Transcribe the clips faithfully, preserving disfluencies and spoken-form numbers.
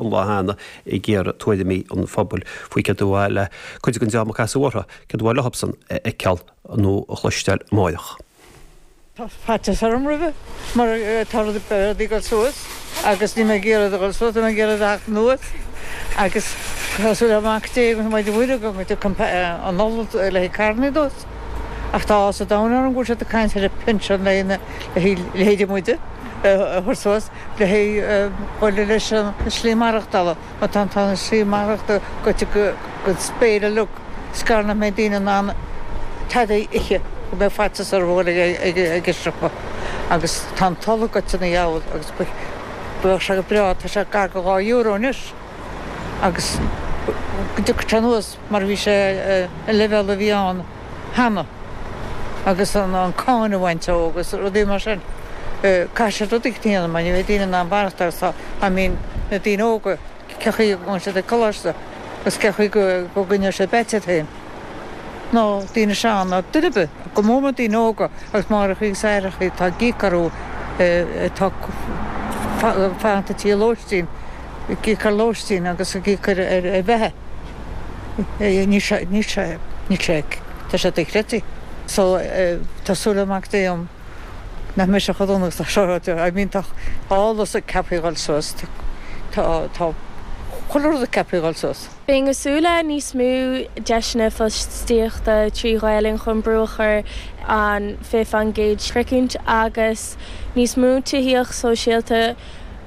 an lá cheana ag iarraidh tuairimí an phobail faoi céard ba mhaith le cuid den dream a casadh orthu, céard ba mhaith leosan a fheiceáil nó a chloisteáil amáireach. Tá faitíos orm roimhe mar tá rudaí ag dul suas agus níl mé ag iarraidh a dhul suas, tá mé ag iarraidh a theacht anuas agus tá súil le Mac Dé agus Muire Mhuire go dtiocfaidh an ola le haghaidh carranna anuas. Ach tá áthas an domhain orm go bhfuil siad ag caint ar an pinsean le haghaidh leithéidí muide a chur suas le haghaidh dhul leis an slí maireachtála mar tá an slí maireachta goite go spéir uilig is gar nach mbeidh daoine in ann tada a ithe go mbeidh faitíos orthu a dhul ag an siopa agus tá an t-ola goite ina dheabhal agus bheadh sé go breá, tá sé gar go dhá euro anois agus go dtiocfadh sé anuas mar a bhí sé an leibhéal a bhí ann cheana agus an cáin a bhaint ó agus rudaí mar sin. Caithfidh siad rud éicint a dhéanamh mar ní bheidh daoine in ann maireachtáil agus tá, I mean, na daoine óga, cé chaoi a ngabhann siad ag coláiste agus cé chaoi go gcoinneoidh siad beaite iad féin. Ná daoine sean ná duine ar bith, go mór mór daoine óga agus máithreachaí agus aithreachaí atá ag íoc orthu atá fanta tí lóistín, ag íoc ar lóistín agus ag íoc ar ar bheatha. Níl sé, níl sé, níl sé, tá sé dochreidte. So tá súil le Mac Dé agam nach mbeidh sé chomh dona agus tá seo ráite. I mean tá ola ceaptha a dhul suas, tá, tá chuile rud ceaptha a dhul suas. Bheinn ag súil le níos mó deiseanna fostaíochta trí Ghaelainn chun brú a chur an fiche faoin gcéad sroichint agus níos mó tithíocht sóisialta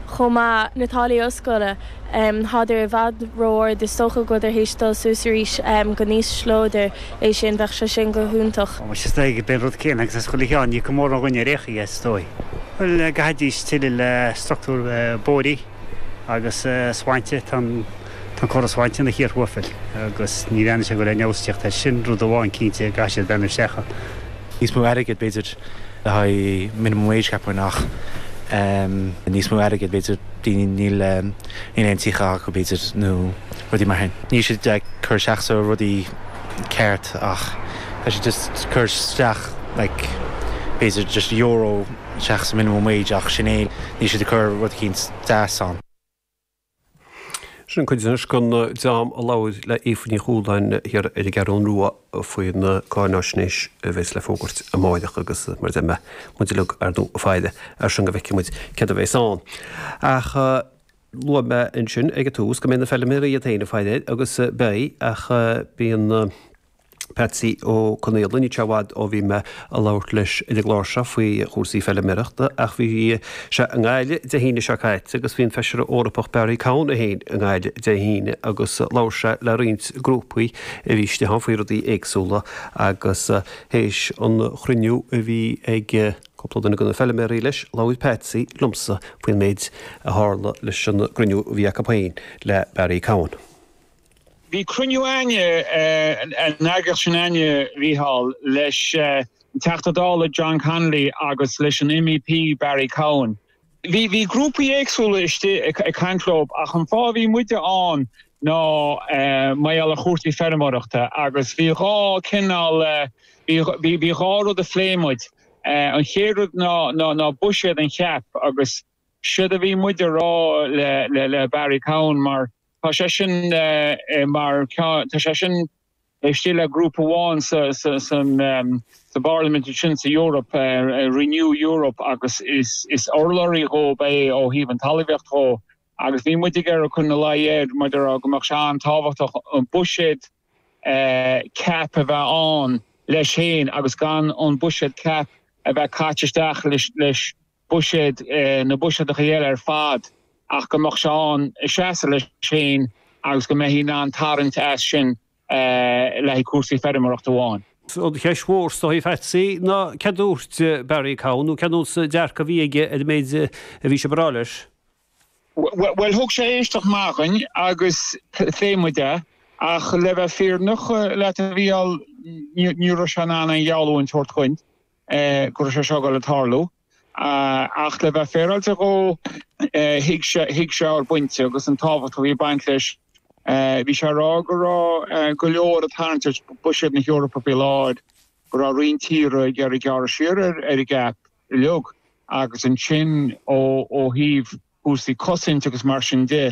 chomh maith. Na táillí ollscoile, tádar i bhfad ró-ard, is dócha go bhfuiltear théis dul suas arís go n-ísleodar é sin, bheadh sé sin go hiontach. Is dóigh gurb é an rud céanna agus as chuile cheann, ní íocann mórán dhuine ar aon chaoi, is dóigh. Bhuel, gcaithfidís tuilleadh le struchtúr bóithre agus sláinte, tá an córas sláinte ina chíor thuaifil agus ní bhreathnaíonn sé go bhfuil aon fheabhas ag teacht air. Sin rud amháin cinnte a gcaithfidh siad breathnú isteach ann. Níos mó airgid b'fhéidir le haghaidh minimum wage cheapfainn ach níos mó airgid b'fhéidir daoine níl níl aon tithe acu b'fhéidir nó rudaí mar sin. Níl siad ag cur isteach sa rudaí ceart ach tá siad just cur isteach like b'fhéidir just euro isteach sa minimum wage ach sin é níl siad ag cur rud eicínt deas ann. Sin cuid anois den dream a labhair le Aoife Ní Chualáin thiar ar an gCeathrú Rua faoin gcáináisnéis a bheas le fógairt amáireach agus mar a deir mé muid uilig ar ndóigh ag faire air sin go bhfeicfidh muid céard a bheas ann. Ach luaigh mé ansin ag an tús go mbeidh na feilméaraí iad féin ag faire air agus beidh ach bíonn Patsy Ó Conaola, níl sé i bhfad ó bhí mé ag labhairt leis ar an gclár seo faoi chúrsaí feilméarachta ach bhí sé i nGaillimh Dé hAoine seo caite agus bhí an Feisire Eorpach Barry Cowen é féin i nGaillimh Dé hAoine agus labhair sé le roinnt grúpaí a bhí istigh ann faoi rudaí éagsúla agus théis an chruinniú a bhí ag cúpla duine de na feilméaraí leis, labhair Patsy liomsa faoin méid a tharla leis an gcruinniú a bhí acu féin le Barry Cowen. Bhí cruinniú againne, an eagraíocht sin againne, a Mhícheáil, leis an Teachta Dála John Connolly agus leis an MEP Barry Cowen. Bhí bhí grúpaí éagsúla istigh ag caint leo ach an fáth a bhí muide ann ná mar gheall ar chúrsaí feirmeoireachta agus bhí dhá cineál, bhí bhí bhí dhá rud a phléigh muid. An chéad rud ná ná ná buiséad an CAP agus séard a bhí muid a rá le le le Barry Cowen mar Tá sé sin mar tá sé sin istigh le grúpa amháin sa sa sa bParlaimint ansin sa Eoraip, Renew Europe agus is is urlabhraí dhóib é ó thaobh an talmhaíocht dhó agus bhí muid ag iarraidh cur ina luí air mar a déarfá go mbeadh sé an-tábhachtach an buiséad CAP a bheith ann leis féin agus gan an buiséad CAP a bheith caite isteach leis leis buiséad na buiséadacha eile ar fad ach go mbeadh sé ann ag seasamh leis féin agus go mbeifí in ann tarraingt as sin le haghaidh cúrsaí feirmeoireachta amháin. An cheist mhór is dóigh, a Phatsy, ná céard a dúirt Barry Cowen nó cén nós dearcadh a bhí aige ar an méid a bhí sibh a rá leis? Bhuel, thug sé éisteacht maith dhuinn agus phléigh muid é ach le bheith fírinneach leat a Mhícheáil, ní raibh sé in ann aon gheallúint a thabhairt dhuinn go raibh sé seo ag dul a tarlú. Ach le bheith féaráilte dhó, thuig sé, thuig sé ár bpointe agus an tábhacht a bhí ag baint leis. Bhí sé ag rá go raibh go leor ag tarraingt ar bhuiséad na hEorpa faoi láthair, go raibh roinnt tíortha ag iarraidh gearradh siar ar an gCAP uilig agus ansin ó thaobh cúrsaí cosaint agus mar sin de,